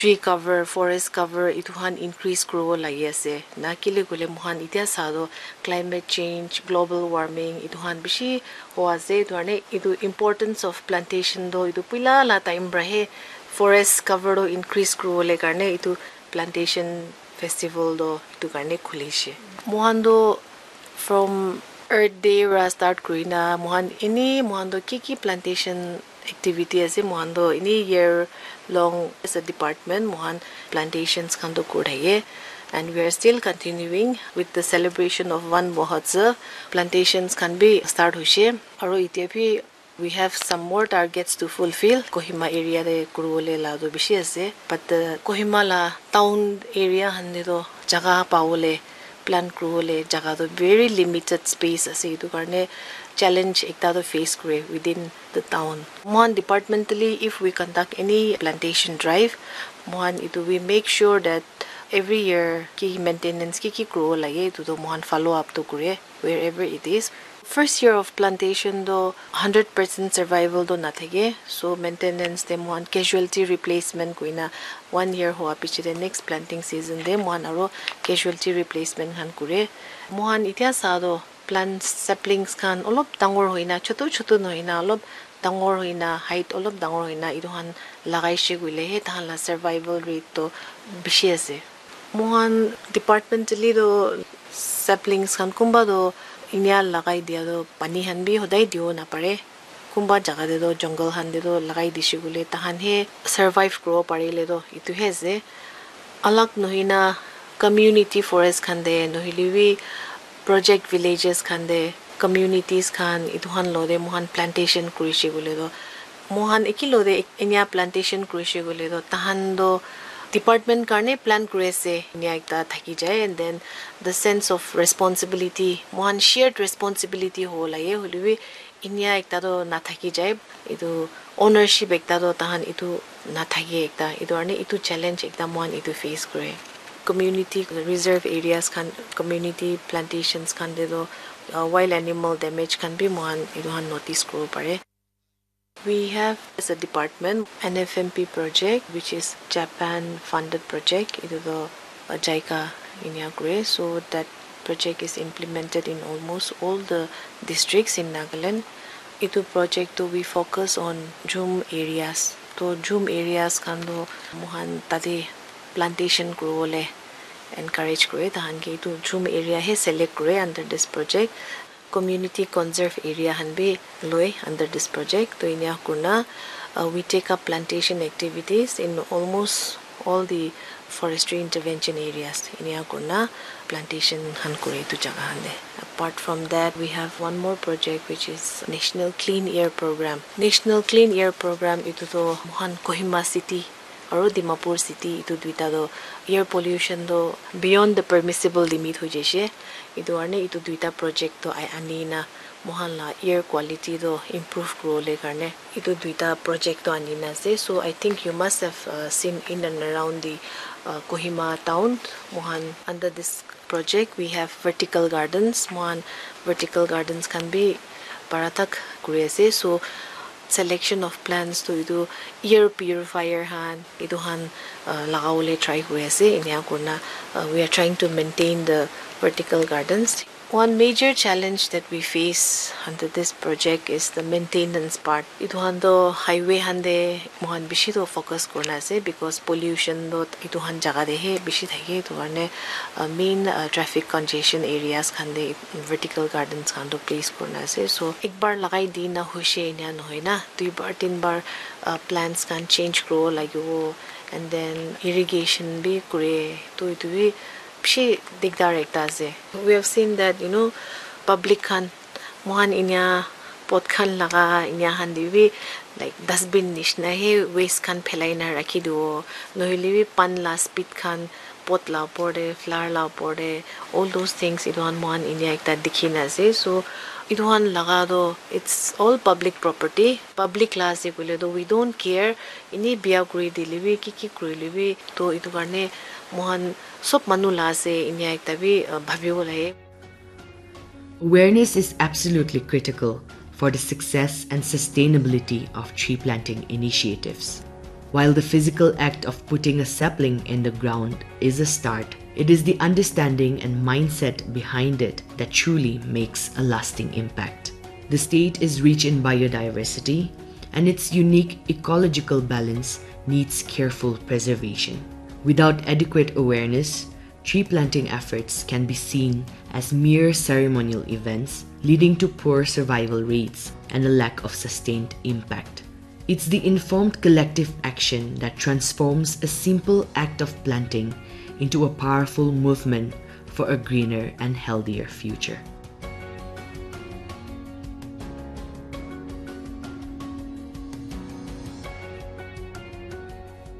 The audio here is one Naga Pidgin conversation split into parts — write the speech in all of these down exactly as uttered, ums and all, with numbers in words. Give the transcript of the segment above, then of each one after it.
tree cover, forest cover itu khan increase kuribo lagi ase. Na kile koile moikhan itya sa toh climate change, global warming itu khan bishi hoa ase. Itu karne itu importance of plantation toh itu puila la time para he forest cover toh increase kuribole karne itu plantation festival toh itu karne khulishe. Moikhan toh from Earth Day para start kurina moikhan ini moikhan toh ki ki plantation activity ase, moikhan toh ini year long as a department moikhan plantations khan toh kuri thake, and we are still continuing with the celebration of Van Mahotsav. Plantations khan bi start hoishe, aro itya bi we have some more targets to fulfill. Kohima area te kuribole la toh bishi ase, but the Kohima la town area khan te toh jaga pabole, plant kuribole jaga toh very limited space ase. Itu karne challenge ekta toh face kure within the town. Moikhan departmentally, if we conduct any plantation drive, moikhan itu we make sure that every year ki maintenance ki ki kuribo lage itu toh moikhan follow up toh kure wherever it is. First year of plantation toh hundred percent survival toh nathake, so maintenance te moikhan casualty replacement koina one year hoa piche te next planting season te moikhan aro casualty replacement khan kure. Moikhan itya sa toh plant saplings khan olop dangor hoina, chotu chotu nohoina, olop dangor hoina, height olop dangor hoina itu khan lagaishe koile he tahan la survival rate toh bishi ase. Moikhan departmentally toh saplings khan kunba toh inya lagai dia toh pani khan bi hodai diwo napare. Kunba jaga te toh jungle khan te toh lagai dishe koile tahan he survive kuribo parile toh itu he ase. Alag nohoina community forest khan te nohoile bi project villages khan te communities khan itu khan lo te moikhan plantation kurishe koile toh moikhan eki lo te enya plantation kurishe koile toh tahan toh department karne plan kuri ase enya ekta thaki jai, and then the sense of responsibility, moikhan shared responsibility hobo lage, hoile bi enya ekta toh nathaki jai, itu ownership ekta toh tahan itu nathake ekta, itu karne itu challenge ekta moikhan itu face kure. Community reserve areas khan, community plantations khan te toh uh, wild animal damage khan bi moikhan itu khan notice kuribo pare. We have as a department N F M P project, which is Japan funded project. Itu toh uh, JICA inya kure. So that project is implemented in almost all the districts in Nagaland. Itu project toh we focus on jhum areas. Toh jhum areas khan toh moikhan tate plantation kuribole encourage kure. Tahan ke itu jhum area he select kure under this project. Community conserve area khan bi loi under this project. Toh inya kurna uh, we take up plantation activities in almost all the forestry intervention areas. Inya kurna plantation khan kure itu jaga khan te. Apart from that, we have one more project, which is National Clean Air Program. National Clean Air Program itu toh moikhan Kohima City aro Dimapur City itu duita toh air pollution toh beyond the permissible limit hoi jaishe. Itu karne itu duita project toh ai- ani na moikhan la air quality toh improve kuribole karne itu duita project toh ani na ase. So I think you must have uh, seen in and around the uh, Kohima town. Moikhan under this project we have vertical gardens. Moikhan vertical gardens khan bi para tak kuri ase. So selection of plants to itu air purifier khan itu khan uh, lagawole try kuri ase. Inya kurna uh, we are trying to maintain the vertical gardens. One major challenge that we face under this project is the maintenance part. Itu khan toh highway khan te moikhan bishi toh focus kurina ase because pollution toh itu khan jaga te he bishi thake. Itu karne uh, main uh, traffic congestion areas khan te vertical gardens khan toh place kurina ase. So ekbar lagai dina hoishe enia nohoi na, duibar tinbar uh, plants khan change kuribo lagibo, and then irrigation bi kure. Toh itu bi bishi digdar ekta ase. We have seen that, you know, public khan moikhan inia pot khan laga inia khan te bi like dustbin nishina he waste khan phelai na rakhi dibo, nohoile bi pan la spit khan pot la opor te, flower la opor te, all those things etu khan moikhan inia ekta dikhi na ase. So etu khan laga toh it's all public property, public la ase koile toh we don't care, eni bia kuri dile bi ki ki kurile bi, toh etu karne moikhan sob manu la ase inia ekta bi uh, bhabibo lage. Awareness is absolutely critical for the success and sustainability of tree planting initiatives. While the physical act of putting a sapling in the ground is a start, it is the understanding and mindset behind it that truly makes a lasting impact. The state is rich in biodiversity, and its unique ecological balance needs careful preservation. Without adequate awareness, tree planting efforts can be seen as mere ceremonial events, leading to poor survival rates and a lack of sustained impact. It's the informed collective action that transforms a simple act of planting into a powerful movement for a greener and healthier future.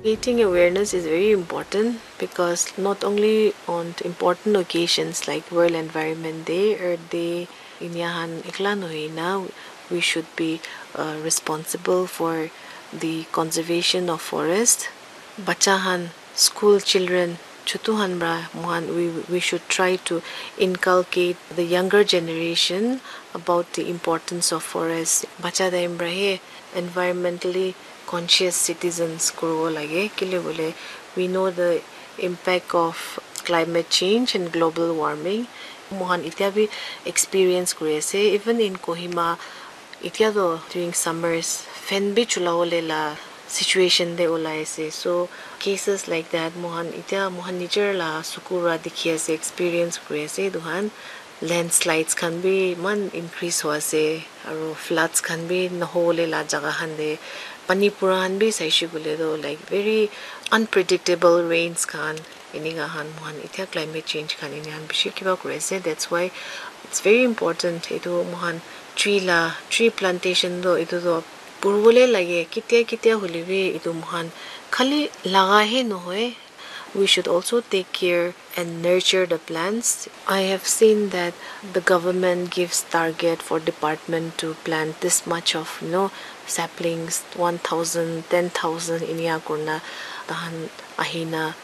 Creating awareness is very important because not only on important occasions like World Environment Day, Earth Day, inia khan ekla nohoi na, we should be uh, responsible for the conservation of forest. Bacha khan, school children, chutu khan pra mohan, we, we should try to inculcate the younger generation about the importance of forest. Bacha time pra he environmentally conscious citizens kuribo lage. Kile bole, we know the impact of climate change and global warming. Mohan itya bi experience kuri ase. Even in Kohima, itya toh during summers, fan bi chulawole la situation te ulai ase. So cases like that, mohan itya mohan nijer la suku ra dikhi ase, experience kuri ase etu khan. Landslides khan bi iman increase hoi ase, aro floods khan bi nohowole la jaga khan te pani pura khan bi saishe koile toh, like, very unpredictable rains khan, enika khan mohan itya climate change khan enika khan bishi kiba kuri ase. That's why it's very important etu mohan tree la, tree plantation toh etu toh kuribole lage, ketia ketia hoile bi etu mohan khali laga he nohoi, we should also take care and nurture the plants. I have seen that the government gives target for department to plant this much of, you know, saplings, one thousand, ten thousand, inia kurna tahan ahina,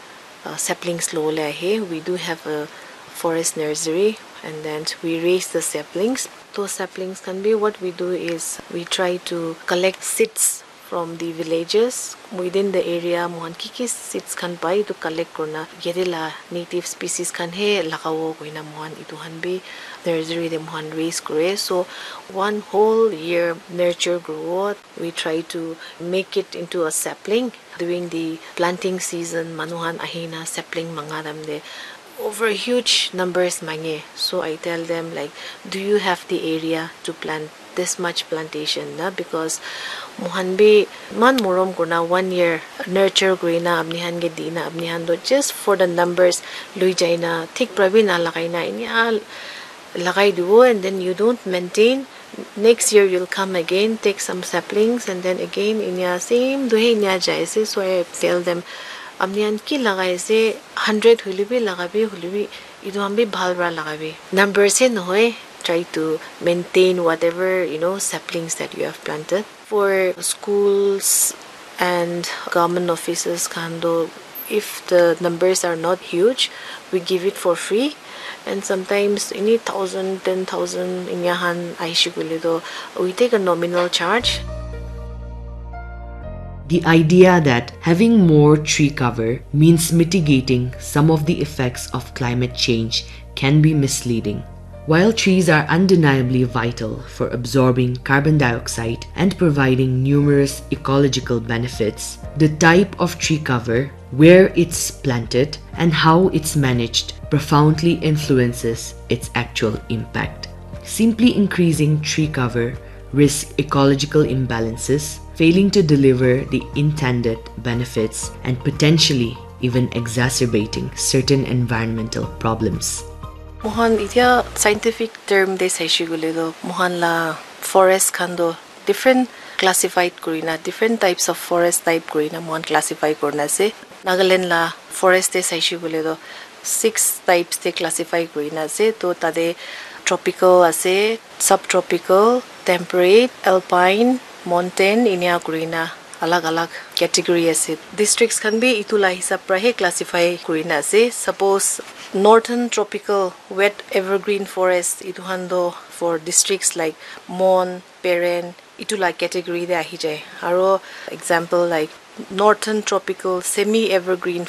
uh, saplings lole ahe. We do have a forest nursery, and then we raise the saplings. Those saplings can be, what we do is we try to collect seeds from the villages within the area. Mohan ki ki seeds khan pai, etu collect kurna yate la native species khan he lagabo koina mohan etu khan bi nursery te mohan raise kore. So one whole year nurture grow, we try to make it into a sapling. During the planting season, manu khan ahina sapling manga time te over huge numbers mange. So I tell them, like, do you have the area to plant this much plantation na? Because mohan bi iman morom kurna one year nurture kurina apni khan ke dina, apni khan toh just for the numbers lui jaina, thik pra bi na lagaina, inia lagai dibo, and then you don't maintain. Next year you'll come again, take some saplings, and then again inia same tu he inia jai ase. So I tell them, apni khan ki lagai ase, hundred hoile bi lagabi, hoile bi etu khan bi bhal pra lagabi. Numbers he nohoi, try to maintain whatever, you know, saplings that you have planted. For schools and government offices khan toh, if the numbers are not huge, we give it for free. And sometimes any thousand, ten thousand inia khan ahishi koile toh, we take a nominal charge. The idea that having more tree cover means mitigating some of the effects of climate change can be misleading. While trees are undeniably vital for absorbing carbon dioxide and providing numerous ecological benefits, the type of tree cover, where it's planted, and how it's managed profoundly influences its actual impact. Simply increasing tree cover risk ecological imbalances, failing to deliver the intended benefits, and potentially even exacerbating certain environmental problems. Mohan itya scientific term te saishe koile toh, mohan la forest khan toh different classified kurina, different types of forest type kurina mohan classify kurina ase. Nagaland la forest te saishe koile toh six types te classify kurina ase. To tate tropical ase, subtropical, temperate, alpine, mountain, inia kurina alag alag category ase. Districts khan bi itu la hisab pra he classify kurina ase. Suppose northern tropical wet evergreen forest, itu khan toh for districts like Mon, Peren, itu la category te ahi jai. Aro example like Northern tropical semi-evergreen